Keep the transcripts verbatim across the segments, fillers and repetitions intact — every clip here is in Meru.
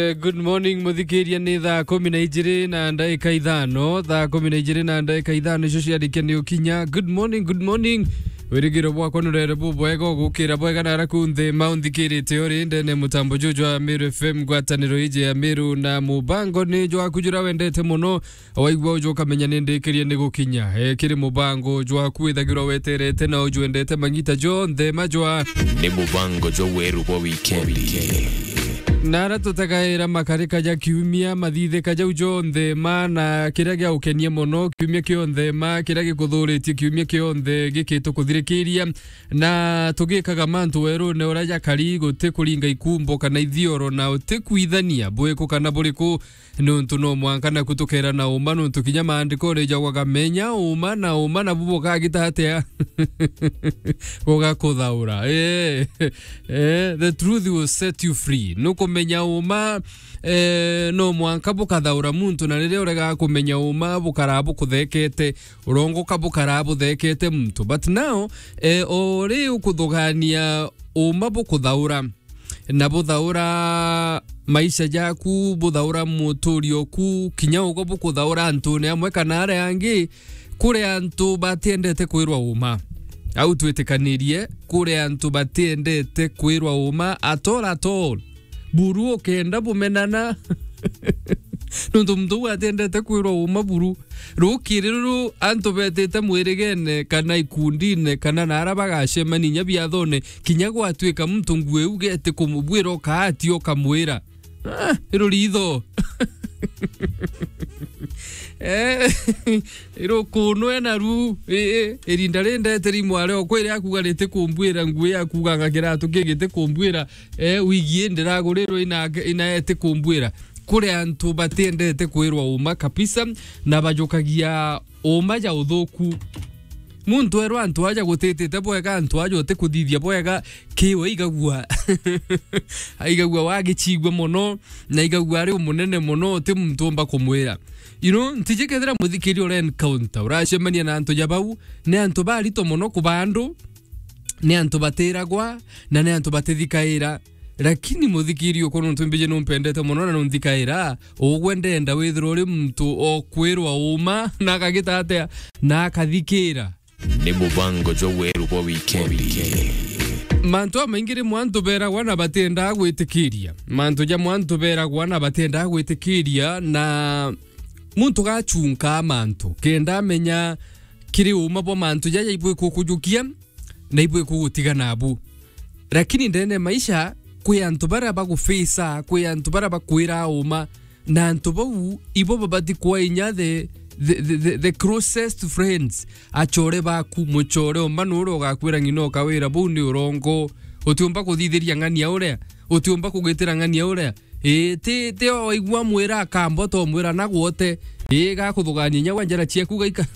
Eh, good morning, muthikiria, ni thaa kumi na ijiri na ndaika ithano. Thaa kumi na ijiri na ndaika ithano icio ciarikia ni ukinya. Good morning, good morning. Wirigiro bwakwa nurere bubwega, ugukira bwega na ara kunthe maunthikirite uri ndene mutambo juju jwa Meru F M, ngwataniro iji ya Meru na mubango ni jwaku jura wendete muno. Waigua uju ukamenya ni ndikirie ni gukinya. E, kiri mubango jwaku withagirwa weterete na ujwendete mangita jonthe majwa. Ni mubango jwa weru bwa wikendi. Na ara tutagaira makarika ja kiumia, mathithika jau jonthe ma, na kiria gia ukenia mono kiumia kionthe ma, kiria gikuthuritie kiumia kionthe gikitukuthirikiria. Na tugikaga mantu werune uria jakari, guti kuringa ikumbo kana ithioro, na uti kwithania bwiku kana buriku. Nuntu no mwanka naku tukera na uma, nuntu kinya maandikone jaugaga, "Menya uma, na uma nabu bukagita atia?" Bugakuthaura. Eh, eh, the truth will set you free. Nukumenya uma, eh, no mwanka bukathaura muntu, na riria urega kumenya uma, bukara bukuthekete, urongoka bukara buthekete muntu. But now, eh, o ri ukuthugania uma bukuthaura, na buthaura maisha jaku, buthaura muturio ku, kinya ugo bukuthaura antune amwe kana aria angi. Kuri antu batiendete kwirwa uma. Au twitikanirie, kuri antu batiendete kwirwa uma at all, at all. Buru ukenda bumenana. Nuntu muntu uu atiendete kwirwa uma buru. Rukiri ruru antu betite mwirigene kana ikundine kana na ara bagacemania inya biathone, kinya gwatuika muntu nguo iu geti kumubwira ukaati ukamwira, "Ah, iruritho." Eh, irukunwe naru, ii, irinda rindeteri mware okwa iria akuga riti kumbwira, nguo yakugaga kiratu kigiti kumbwira, eh, wigi ndiragurirwe ina, ina eti kumbwira. Kuri antu batiendete kwirwa uma kabisa, na bajukagia uma ja uthuku. Muntu erwa antu aja gutitite bwega, antu aja uti kuthithia bwega, kiwe igagua. Aigagua wagicigua mono, na igagua ari umunene mono, uti muntu umba kumwira. You know, ntiji kethira muthikiri ura encounter, uracemania na antu ja bau, ni antu barito mono kuba andu, ni antu batiragwa, na ni antu batithikaira. Lakini muthikiri ukwa, nuntu mbiji numpendete mono na nunthikaira, ugwe ndenda withirwa uri muntu okwirwa uma, na akagita atia, na akathikira. Ni mubango jwa weru bwa wikendi. Mantu amaingi rimwe antu beragwa na batiendaa gwitikiria. Mantu jamwe antu beragwa na batiendaa gwitikiria, na muntu gachunkaa mantu, kenda amenya kiri uma bwa mantu jaja ibwikukujukia, na ibwikugutiga nabu. Lakini ndene ya maisha, kwi antu baria bagufisa, kwi antu baria bakwira uma, na antu bau ibo babati kwa inya the, the, the, the, the closest friends. Achore baku, muchore uma nuria ugakwira ng'ina ukawira, "Buu ni urongo. Utiumba kuthithiria ng'ania uria. Utiumba kugitira ng'ania uria." Ii, ti, ti oigua mwira akamba, utomwira na gwote. Ii, gakuthugaania inya gwa njara ciaku gaika.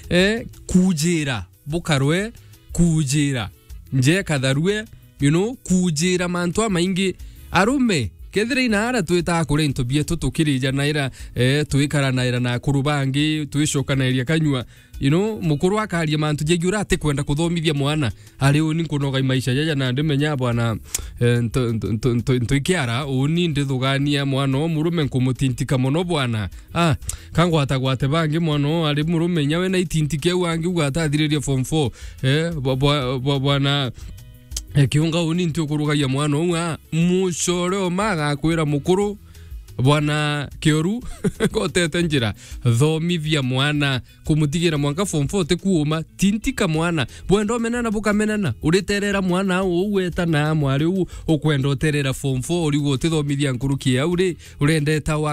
Eh, kujira. Bukarwe kujira. Nje katharue, you know, kujira mantu amaingi. Arume, kethira ina ara twitaga kuria into bietu tukirijanaira, eh, twikaranaira na akuru bangi, twicokanairia kanyua. You know, mukuru akaria mantu jegiura atikwenda kuthomithia mwana. Ari uni nkunoga i maisha jaja na ndimenya bwana, eh, nto, nto, nto, nto, nto ikiara, uni ndithugania mwana o murume nkumutintika mono bwana. Ah, kangwatagwate bangi mwana o ari murume inya we na itinti kiu angi uga atathiririe form four. Eh, bwa-, bwa-, bwa-, bwana, eh, kiunga uni nti ukurugagia mwana uu, ah, mucore uma agakwira mukuru, bwana Kioru, gotete njira, thomithia mwana, kumutigira mwanka form four ti kuuma, tintika mwana. Bwenda umenana, bukamenana, uriterera mwana uu weta na mwari uu, ukwenda uterera form four, uriuga utithomithia nkuruki au ri, urendeta wa